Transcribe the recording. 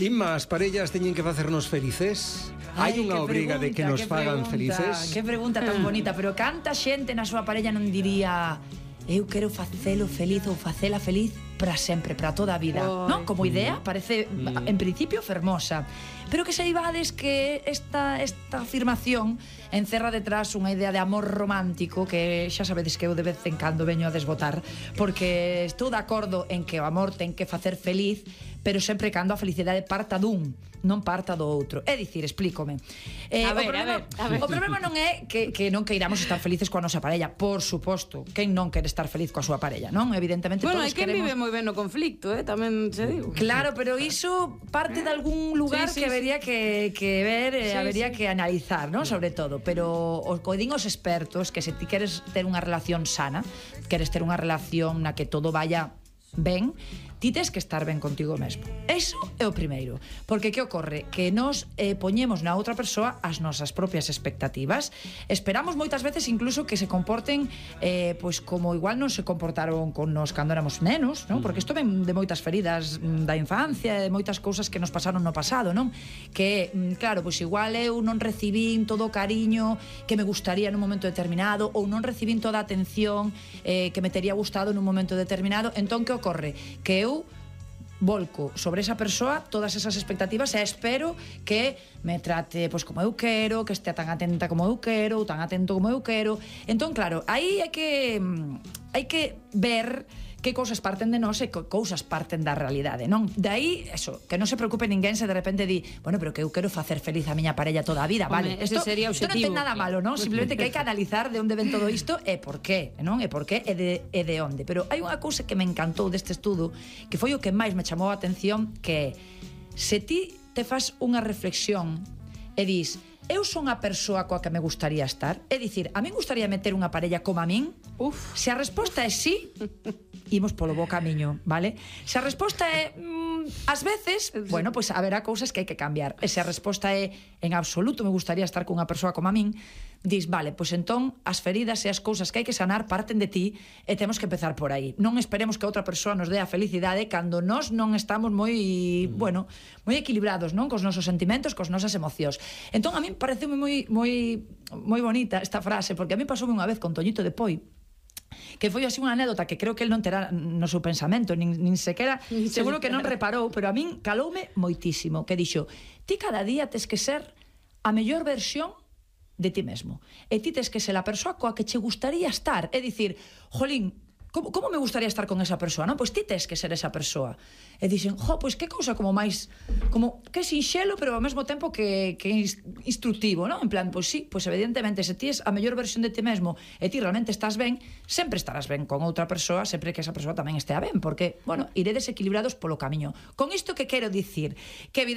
Inma, as parellas teñen que facernos felices? Hai unha obriga de que nos fagan felices? Que pregunta tan bonita, pero canta xente na súa parella non diría eu quero facelo feliz ou facela feliz para sempre, para toda a vida, non? Como idea parece en principio fermosa, pero que saibades que esta afirmación encerra detrás unha idea de amor romántico que xa sabedes que eu de vez en cando veño a desbotar, porque estou de acordo en que o amor ten que facer feliz, pero sempre cando a felicidade parta dun, non parta do outro. É dicir, explícome. O problema non é que non queiramos estar felices coa nosa parella, por suposto. Quen non quere estar feliz coa súa parella, non? Evidentemente bueno, todos queremos... Bueno, hai quen vive moi ben no conflicto, tamén se digo. Claro, pero iso parte de algún lugar que habería que ver, habería que analizar, non? Sobre todo, pero o que din os expertos que se ti queres ter unha relación sana, queres ter unha relación na que todo vaya ben, ti tes que estar ben contigo mesmo. Eso é o primeiro. Porque que ocorre? Que nos poñemos na outra persoa as nosas propias expectativas. Esperamos moitas veces incluso que se comporten pois como igual non se comportaron con nos cando éramos nenos, non? Porque isto ven de moitas feridas da infancia, de moitas cousas que nos pasaron no pasado, non? Que, claro, pois igual eu non recibín todo o cariño que me gustaría nun momento determinado, ou non recibín toda a atención que me tería gustado nun momento determinado. Entón, que ocorre? Que eu volco sobre esa persoa todas esas expectativas e espero que me trate pois como eu quero, que estea tan atenta como eu quero, ou tan atento como eu quero. Entón, claro, aí hai que ver que cousas parten de nós e que cousas parten da realidade, non? De aí, eso, que non se preocupe ninguén se de repente di, bueno, pero que eu quero facer feliz a miña parella toda a vida, vale? Ese sería o objetivo. Isto non ten nada malo, non? Simplemente que hai que analizar de onde ven todo isto e por qué, non? E por qué e de onde. Pero hai unha cousa que me encantou deste estudo, que foi o que máis me chamou a atención, que se ti te fas unha reflexión e dis, eu son a persoa coa que me gustaría estar, é dicir, a min gustaría meter unha parella como a min. Se a resposta é sí, imos polo bo camiño, vale? Se a resposta é ás veces, bueno, pois haberá cousas que hai que cambiar. E se a resposta é en absoluto me gustaría estar con unha persoa como a min, dis, vale, pois entón as feridas e as cousas que hai que sanar parten de ti e temos que empezar por aí. Non esperemos que outra persoa nos dé a felicidade cando nós non estamos moi, bueno, moi equilibrados, non? Cos nosos sentimentos, cos nosas emocións. Entón a min pareceume moi bonita esta frase, porque a mí pasoume unha vez con Toñito de Poi, que foi así unha anécdota que creo que el non terá no seu pensamento, nin sequera, seguro que non reparou, pero a min caloume moitísimo, que dixo, ti cada día tes que ser a mellor versión de ti mesmo. E ti tes que ser a persoa coa que che gustaría estar. É dicir, jolín, como me gustaría estar con esa persoa, non? Pois ti tes que ser esa persoa. E dixen, pois que cousa como máis, como que sinxelo, pero ao mesmo tempo que instructivo, non? En plan, pois sí, pois evidentemente, se ti és a mellor versión de ti mesmo e ti realmente estás ben, sempre estarás ben con outra persoa, sempre que esa persoa tamén estea ben, porque, bueno, iredes equilibrados polo camiño. Con isto que quero dicir? Que